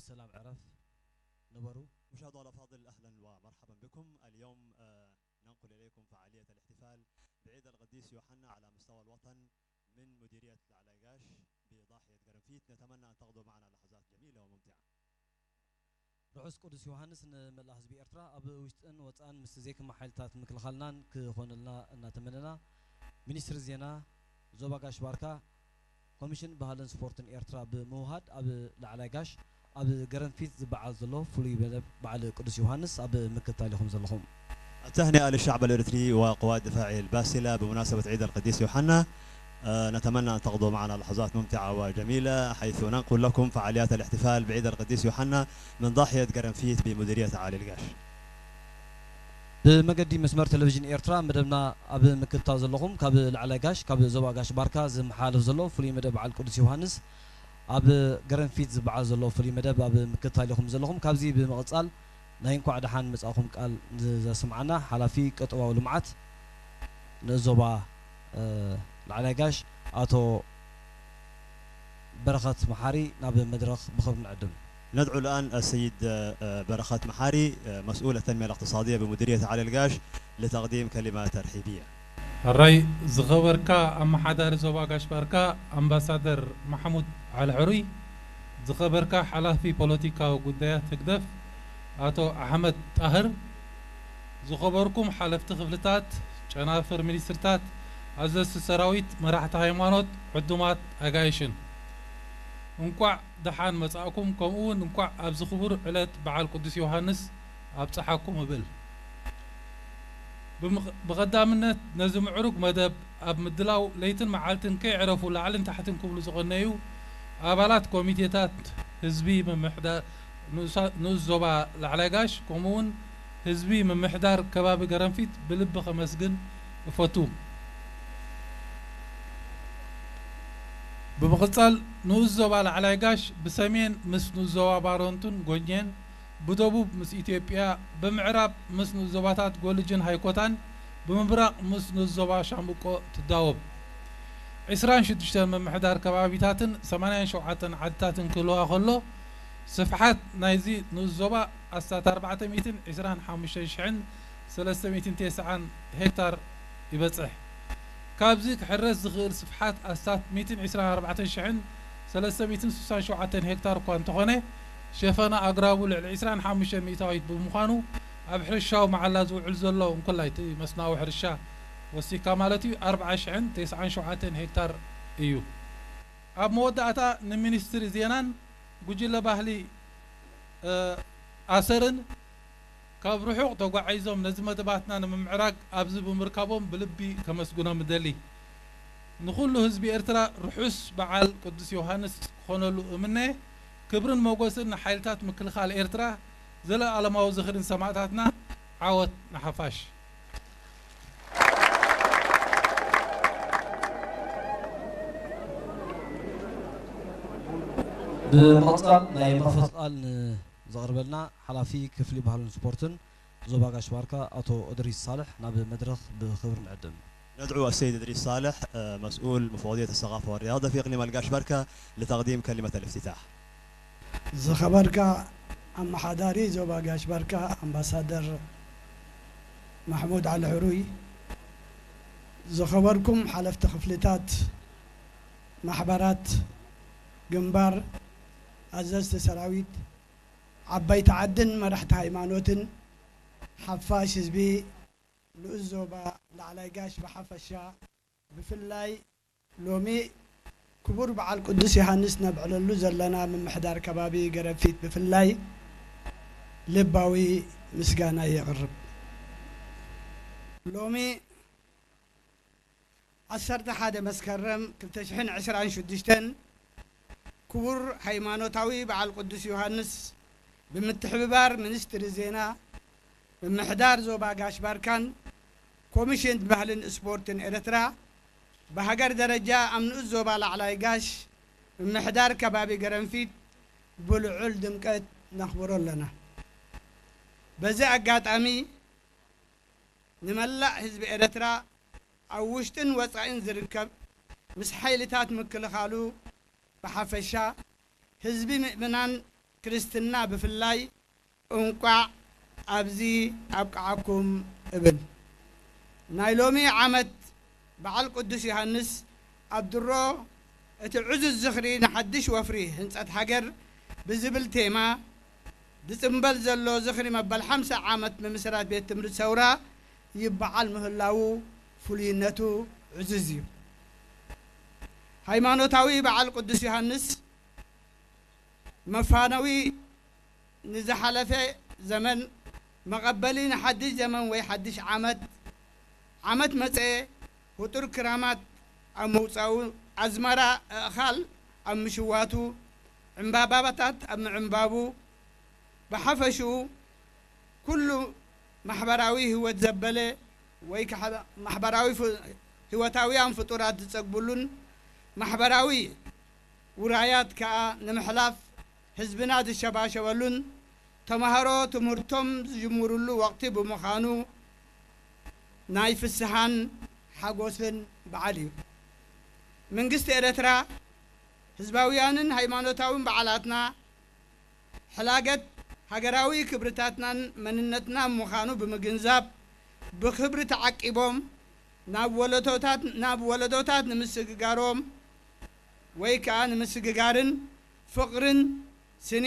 ሰላም ዕረፍ ንበሩ። مشاهدونا الأفاضل، أهلا ومرحبا بكم. اليوم آه، ننقل إليكم فعالية الاحتفال بعيد القديس يوحنا على مستوى الوطن، من مديرية العلايقاش بضاحية قرنفيت. نتمنى أن تقضوا معنا لحظات جميلة وممتعة. ርሑስ ቅዱስ ዮሃንስ ንመላእ ህዝቢ ኤርትራ። ኣብ ውሽጥን ወጻእን ምስ ዘይክማ ሓይልታት ምክልኻልናን ክኾነልና እናተመነና፣ ሚኒስትሪ ዜና ዞባ ጋሽ ባርካ ኮሚሽን ባህልን ስፖርትን ኤርትራ ብምውሃድ ኣብ ላዕላይ ጋሽ ኣብ ገረንፊት ዝበዓል ዘሎ ፍሉይ መደብ በዓል ቅዱስ ዮሃንስ ኣብ ምክትታል ኢኹም ዘለኹም። التهنئة للشعب الإريتري وقوات دفاعه الباسلة بمناسبة عيد القديس يوحنا. آه، نتمنى أن تقضوا معنا لحظات ممتعة وجميلة، حيث ننقل لكم فعاليات الاحتفال بعيد القديس يوحنا من ضاحية قرنفيت بمديرية عالي القاش. ብመገዲ መስመር ቴሌቪዥን ኤርትራ መደብና ኣብ ምክትታል ዘለኹም፣ ካብ ላዕላይ ጋሽ፣ ካብ ዞባ ጋሽ ባርካ ዝመሓላለፍ ዘሎ ፍሉይ መደብ በዓል ቅዱስ ዮሃንስ ኣብ ገረንፊት ዝበዓል ዘሎ ፍሉይ መደብ ኣብ ምክትታል ኢኹም ዘለኹም። ካብዚ ብምቕጻል ናይ እንኳዕ ደሓን መጻእኹም ቃል ዘስምዓና ሓላፊ ቀጠባዊ ልምዓት ንእስ ዞባ ላዕላይ ጋሽ ኣቶ በረኸት መሓሪ ናብ መድረኽ ብኽብሪ ንዕድም። ندعو الآن السيد برخات محاري مسؤول التنمية الاقتصادية بمديرية علي القاش لتقديم كلمة ترحيبية. ሕራይ ዝኸበርካ ኣመሓዳሪ ዞባ ጋሽ ባርካ ኣምባሳደር ማሕሙድ ዓሊ ሕሩይ፣ ዝኸበርካ ሓላፊ ፖለቲካዊ ጉዳያት ህግደፍ ኣቶ ኣሕመድ ጣህር፣ ዝኸበርኩም ሓለፍቲ ክፍልታት፣ ጨናፍር ሚኒስትርታት፣ ኣዘዝቲ ሰራዊት፣ መራሕቲ ሃይማኖት፣ ዕዱማት ኣጋይሽን፣ እንቋዕ ደሓን መጻእኩም፣ ከምኡ እውን እንቋዕ ኣብዚ ክቡር ዕለት በዓል ቅዱስ ዮሃንስ ኣብጽሓኩም እብል። ብቐዳምነት ነዚ ምዕሩግ መደብ ኣብ ምድላው ለይትን መዓልትን ከይዕረፉ ላዕልን ታሕትን ክብሉ ዝቐነዩ ኣባላት ኮሚቴታት ህዝቢ ምምሕዳር ንኡስ ዞባ ላዕላይ ጋሽ ከምኡ እውን ህዝቢ ምምሕዳር ከባቢ ገረንፊት ብልቢ ከመስግን እፈቱ። ብምቕጻል ንኡስ ዞባ ላዕላይ ጋሽ ብሰሜን ምስ ንኡስ ዞባ ባረንቱን ጎኘን ብደቡብ ምስ ኢትዮጵያ፣ ብምዕራብ ምስ ንኡስ ዞባታት ጎልጅን ሃይኮታን፣ ብምብራቕ ምስ ንኡስ ዞባ ሻምብቆ ትዳወብ። ዕስራን ሽዱሽተን ምምሕዳር ከባቢታትን ሰማንያን ሸውዓተን ዓድታትን ክህልዋ ከሎ፣ ስፍሓት ናይዚ ንኡስ ዞባ ኣስታት ኣርባዕተ ሚእትን ዕስራን ሓሙሽተን ሽሕን ሰለስተ ሚእትን ተስዓን ሄክታር ይበጽሕ። ካብዚ ክሕረስ ዝኽእል ስፍሓት ኣስታት ሚእትን ዕስራን ኣርባዕተን ሽሕን ሰለስተ ሚእትን ስሳን ሸውዓተን ሄክታር እኳ እንተኾነ፣ ሸፈና ኣግራቡ ልዕሊ ዕስራን ሓሙሽተን ሚእታዊት ብምዃኑ፣ ኣብ ሕርሻዊ መዓላ ዝውዕል ዘሎ እንኮላይ እቲ መስኖኣዊ ሕርሻ ወሲኽካ ማለት እዩ፣ ኣርብዓ ሽሕን ተስዓን ሸውዓተን ሄክታር እዩ። ኣብ መወዳእታ ንሚኒስትሪ ዜናን ጉጅለ ባህሊ ኣሰርን ካብ ርሑቕ ተጓዒዞም ነዚ መደባትና ንምምዕራግ ኣብዚ ብምርካቦም ብልቢ ከመስግኖም እደሊ። ንኹሉ ህዝቢ ኤርትራ ርሑስ በዓል ቅዱስ ዮሃንስ ክኾነሉ እምነ። ክብርን ሞጎስን ንሓይልታት ምክልኻል ኤርትራ፣ ዘለኣለማዊ ዝኽሪ ንሰማእታትና፣ ዓወት ንሓፋሽ። ብምቕጻል ናይ መኽፈቲ ቃል ንዘቕርበልና ሓላፊ ክፍሊ ባህልን ስፖርትን ዞባ ጋሽ ባርካ ኣቶ እድሪስ ሳልሕ ናብ መድረኽ ብኽብሪ ንዕድም። ندعو السيد إدريس صالح مسؤول مفوضية الثقافة والرياضة في إقليم القاش بركة لتقديم كلمة الافتتاح. ዝኸበርካ ኣመሓዳሪ ዞባ ጋሽ ባርካ ኣምባሳደር ማሕሙድ ዓሊ ሕሩይ፣ ዝኸበርኩም ሓለፍቲ ክፍልታት፣ ማሕበራት፣ ግንባር፣ ኣዘዝቲ ሰራዊት፣ ዓበይቲ ዓድን መራሕቲ ሃይማኖትን፣ ሓፋሽ ህዝቢ ንኡስ ዞባ ላዕላይ ጋሽ ብሓፈሻ፣ ብፍላይ ሎሚ ክቡር በዓል ቅዱስ ዮሃንስ ነብዕለሉ ዘለና ምምሕዳር ከባቢ ገረፊት ብፍላይ ልባዊ ምስጋና የቕርብ። ሎሚ ዓሰርተ ሓደ መስከረም ክልተ ሽሕን ዕስራን ሽዱሽተን ክቡር ሃይማኖታዊ በዓል ቅዱስ ዮሃንስ ብምትሕብባር ሚኒስትሪ ዜና፣ ምምሕዳር ዞባ ጋሽ ባርካን ኮሚሽን ባህልን ስፖርትን ኤርትራ ብሃገር ደረጃ ኣብ ንኡስ ዞባ ላዕላይ ጋሽ ምምሕዳር ከባቢ ገረንፊት ብልዑል ድምቀት ነኽብሮ ኣለና። በዚ ኣጋጣሚ ንመላእ ህዝቢ ኤርትራ ኣብ ውሽጥን ወጻኢን ዝርከብ ምስ ሓይልታት ምክልኻሉ ብሓፈሻ ህዝቢ ምእመናን ክርስትና ብፍላይ እንቋዕ ኣብዚ ኣብቅዓኩም እብል። ናይ ሎሚ ዓመት በዓል ቅዱስ ዮሃንስ ኣብ ድሮ እቲ ዕዙዝ ዝኽሪ ንሓድሽ ወፍሪ ህንጸት ሃገር ብዝብል ቴማ ዝጽንበል ዘሎ ዝኽሪ መበል ሓምሳ ዓመት ምምስራት ቤት ትምህርቲ ሰውራ ይበዓል ምህላዉ ፍሉይነቱ ዕዙዝ እዩ። ሃይማኖታዊ በዓል ቅዱስ ዮሃንስ መፋነዊ ንዝሓለፈ ዘመን መቐበሊ ንሓድሽ ዘመን ወይ ሓድሽ ዓመት፣ ዓመት መጸ ህጡር ክራማት ኣብ ምውጻኡ፣ ኣዝመራ ኣእኻል ኣብ ምሽዋቱ፣ ዕምባባታት ኣብ ምዕምባቡ፣ ብሓፈሽኡ ኩሉ ማሕበራዊ ህይወት ዘበለ ወይ ከዓ ማሕበራዊ ፍ-፣ ህይወታውያን ፍጡራት ዝጸግብሉን ማሕበራዊ ውራያት ከኣ ንምሕላፍ ህዝብና ዝሸባሸበሉን ተማሃሮ ትምህርቶም ዝጅምሩሉ ወቕቲ ብምዃኑ ናይ ፍስሃን ሓጎስን በዓል እዩ። መንግስቲ ኤረትራ ህዝባውያንን ሃይማኖታውን በዓላትና ሕላገት ሃገራዊ ክብርታትናን መንነትናን ምዃኑ ብምግንዛብ ብኽብሪ ተዓቂቦም ናብ ወለዶታት፣ ናብ ወለዶታት ንምስግጋሮም ወይ ከኣ ንምስግጋርን ፍቕርን ስኒ